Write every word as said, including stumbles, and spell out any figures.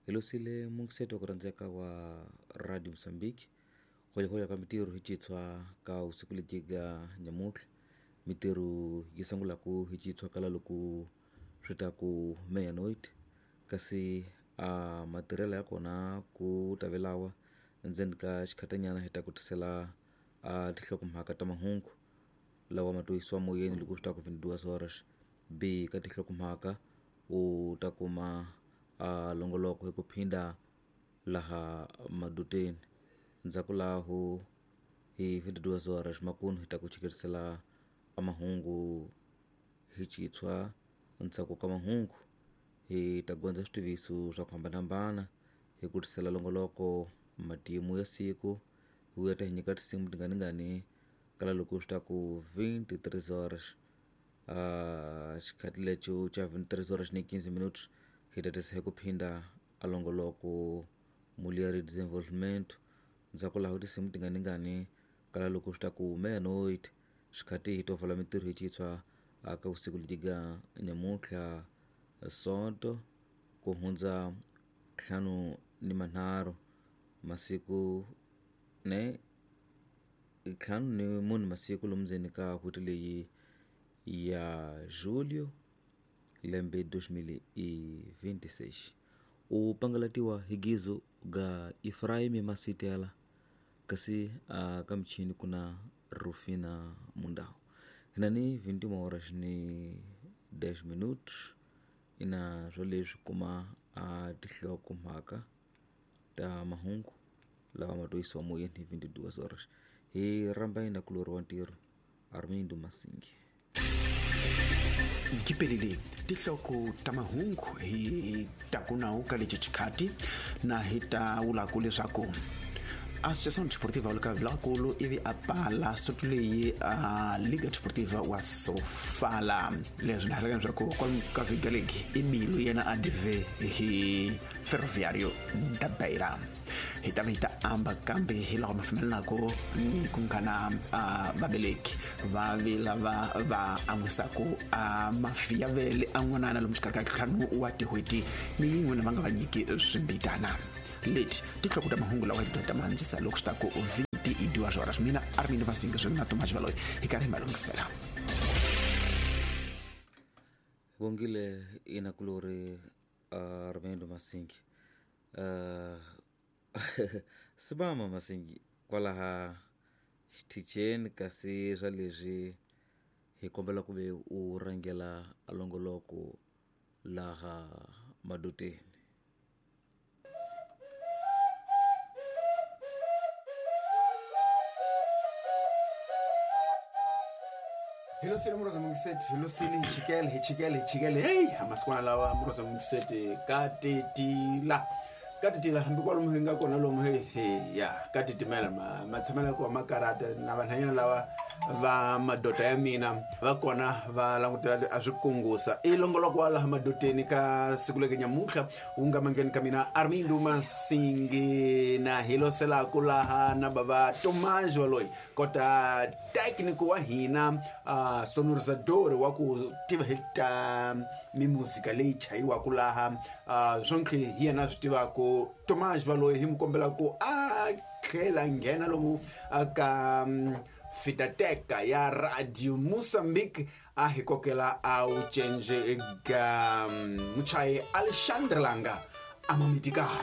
Hi losile mungiseto wa ku rhandzeka wa Radio Mozambique hoyahoya ka mitirho hi citshwa ka usiku lebyiga nyamuntlha mitirho yi sungulaku hi citshwa kala loko swi ta ku meia-noite kasi a matirhelo ya kona ku ta velawa endzeni ka xikhatanyana hi ta ku tisela a tinhlokomhaka ta mahungu lawa ma to yisiwa moyeni loko swi ta ku vinte e duas horas b ka tinhlokomhaka u ta kuma a longoloko hi ku phinda laha maduteni ndzhaku laho hi vinte e duas horas makunu hi ta ku chikerisela a mahungu hi citshwa ndzhaku ka mahungu hi ta gondza switiviso swa ku hambanahambana hi ku tisela longoloko matimu ya siku hi vuya ta hi nyika tinsimu tinganingani kala loko swi ta ku vinte e três horas a xikhati lexo xa vinte e três horas ni quinze minutos hi ta tisa hi ku phinda a longoloko Mulher e Desenvolvimento ndzhaku laho tinsimu tinganingani kala loko swi ta ku meia-noite xikhati hi to pfala mitirho hi citshwa ka vusiku lebyiga nyamuntlha sonto ku hundza ntlhanu ni manharhu masiku ne ntlhanu ni mune masiku lomu ndzeni ka n'hweti leyi ya julio lembe dois mil e vinte e seis u pangalatiwa hi gizo ga Efraim Masitela kasi a ka michini ku na Rufina Mundau hina ni vinte e uma horas ni dez minutos ina swo leswi kuma a tinhlokomhaka ta mahungu lawa ma to yisiwa moyeni hi vinte e duas horas hi rhamba yina kulori wa ntirho Armindo Masingi. Gipelile tinhloko ta mahungu hi ta ku nawu ka lexi xikhati na hi ta vulaku leswaku Associação Desportiva Luka Vilakulu ivi a pala soto leyi a Liga Desportiva wa Sofala leswi na hleketa leswaku kwalomu ka vhiki leyi i bilu yena a dive hi Ferroviario da Beira hi ta va hi ta amba kambe hi laha ma pfumelelanaku ni ku nga na vaveleki va vi lava va an'wisaku a mafi ya vele a n'wanana lomu xikarhi ka ntlhanu wa tin'hweti ni yin'we na va nga va nyiki swimbitana leti tinhloko ta mahungu lawa hi ta ma handzisa loko swi ta ku vinte e duas horas mina Armindo Masinga swin'we na Tomas Valoyi hi karhi hi ma lunghisela. Bongile ina kulori Armindo Masingi uh, sibama Masingi kwalaha xithicheni kasi swa leswi hi kombela ku ve u rhangela a longoloko laha maduteni. Hi losile muroza mungiseti hi losile hi chikele hi chikele hi chikele heyi amasikwana lawa muroza mungiseti ka titila ka titila hambi kwalomu hi nga kona lomu he he ya ka titimela ma matshamelo ya kona ma karata na vanhanyana lava va madota ya mina va kona va langutela a swi kungusa i longoloko wa laha madoteni ka siku leke nyamuntlha wu nga mangeni ka mina Armindo Masingi na hi loselaku laha na bava Tomas Valoyi kota técnico wa hina uh, sonorizador wa ku tiva hi ta mimuzika leyi chayiwaku laha uh, swonke hi yena swi tivaku Tomas Valoyi hi mu kombela ku a tlhela nghena lomu ka um, fitateka ya Radio Mozambique a hi kokela a wu cence ga muchayi Alexandre Langa a mamitikale.